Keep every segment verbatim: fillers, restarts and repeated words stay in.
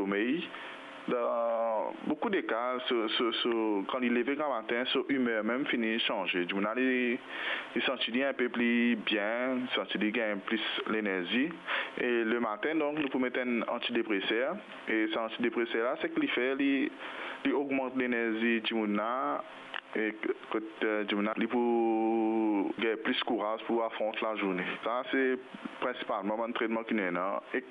somey. Dan boukou de ka, so, so, so, kan li leve gramatin, so imer mem fini sanze. Dimoun la, li, li santi li inpe pli bien, li santi li gagn plis lenerzi. E lematin, donk, nou pou met enn antidepreser. E sa antidepreser la, seki li fer, li, li ogmant lenerzi dimoun la, e kot, eh, dimoun la, li pou gagn plis kouraz pou afront lazourne. Sa, se prinsipalman bann tretman ki nou ena. E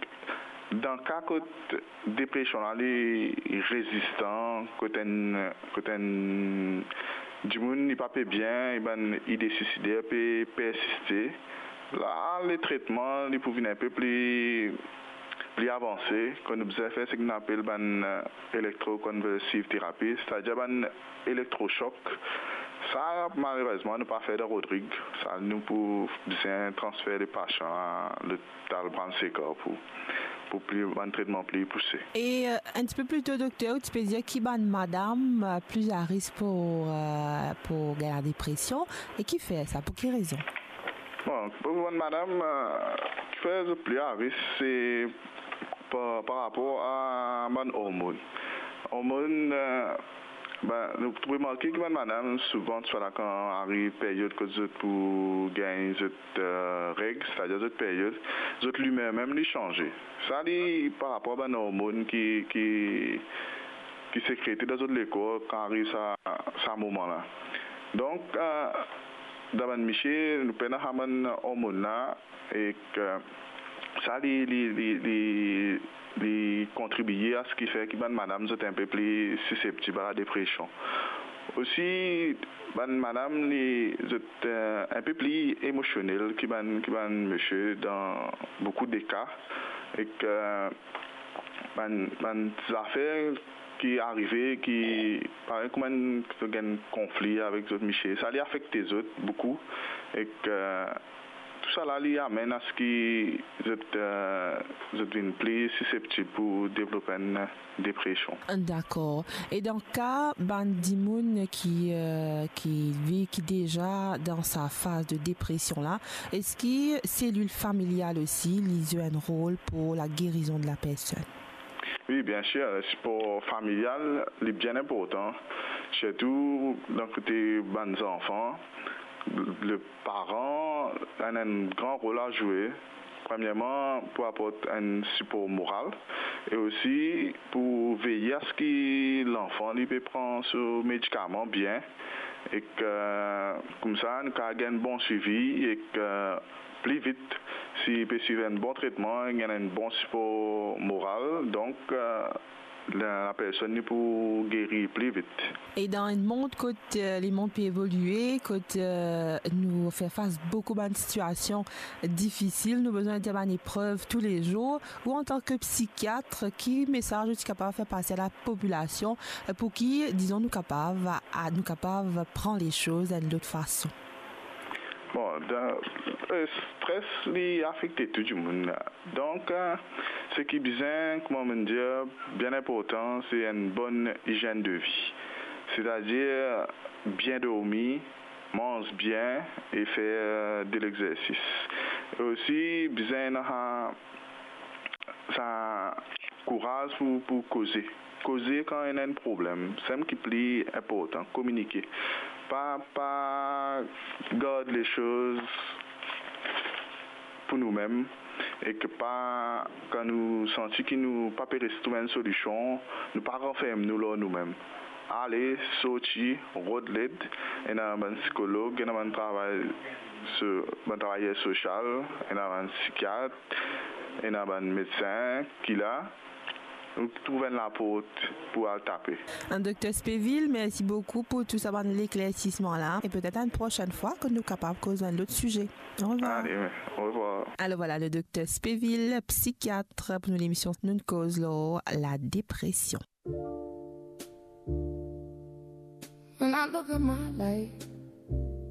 dan ka kot depresion la, li rezistan, kot enn, kot enn dimoun, li pa pe bien, e bann ide suisider pe persiste. La, le tretman, li pou vinn inpe pli, pli avanse. Kan nou bizin fer seki nou apel bann, eh, electroconvulsive therapy, setadir bann elektrosok. Sa, malerezman, nou pa fer dan Rodrig. Sa, nou pou bizin transfer le pasian a lopital Brown Séquard pou, pou pli, bann tretman pli pouse. E, eh, enn tipe pli to, dokter, ou ti pe dir ki bann madam, eh, pli a risk pou, eh, pou gagn ladepresion, e kifer sa, pou ki rezon? Bon, pou bann madam, eh, kifer zot pli a risk, se par, par rapor a bann ormonn. Ormonn, eh, ben, nou remarke ki bann madam, souvan, swa la kan ariv peryod kot zot pou gagn zot, eh, reg, setadir zot peryod, zot limer mem li sanze. Sa li par rapor a bann ormonn ki, ki, ki sekrete dan zot lekor kan ariv sa, sa moman la. Donk, eh, dan bann misie, nou pena sa bann ormonn la, ek sa li, li, li, li, li kontribie a seki fer ki bann madam zot inpe pli siseptib a ladepresion. Osi, bann madam li, zot, eh, inpe pli emosionel ki bann, ki bann misie dan boukou de ka, ek bann, bann zafer ki arive, ki parey kouma zot gagn konfli avek zot misie, sa li afekte zot boukou, ek, eh, tousala li amenn a seki zot, eh, zot vinn pli siseptib pou devlop enn depresion. Dakor. E dan ka bann dimoun ki, eh, ki vi-, ki deza dan sa faz de depresion la, eski selil familial osi li zwe enn rol pou lagerizon de la personn? Wi, bien sir, sipor familial, li bien inportan, sirtou dan kote bann zanfan. Le paran ena enn gran rol a zwe, premierman, pou aport enn sipor moral, e osi pou veye a seki lanfan li pe pran so medikaman bien, ek, eh, koumsa, nou kav gagn bon swivi, ek, eh, pli vit, si li pe swiv enn bon tretman, gagn enn bon sipor moral, donk, eh, la, la personn li pou geri pli vit. E dan enn mond kot, eh, lemond pe evolie, kot, eh, nou fer fas boukou bann sitiasion difisil, nou bizin dir bann eprev toulezour, ou antan ke psikiat, ki mesaz ou ti kapav fer pase a lapopilasion, eh, pou ki, dizon, nou kapav, a, nou kapav pran lesoz enn lot fason? Bon, dan, eh, stres, li afekte tou dimoun. Donk, eh, seki bizin, kouma mo dir, bien inportan, se enn bonn izienn de vi. Setadir, bien dormi, manz bien e fer, eh, de lexersis. E osi, bizin ena sa, sa kouraz pou, pou koze. Koze kan ena enn problem, samem ki pli inportan, kominike. Pa, pa gard lesoz pou noumem, ek pa, kan nou santi ki nou pa pe res trouv enn solision, nou pa ranferm nou lor noumem. Ale, sorti, rod led, ena bann sikolog, ena bann travay so-, bann travayer sosial, ena bann psikiat, ena bann medsin ki la, ou trouv enn laport pou al tape. Dokter Spéville, mersi boukou pou tou sa bann leklersisman la, e petet enn prosenn fwa ke nou kapav koz enn lot size. Au revoir. Ale, au revoir. Alors voilà, le docteur Spéville, psychiatre, pour nous l'émission Nou'nn Koz lor la dépression. When I look at my life,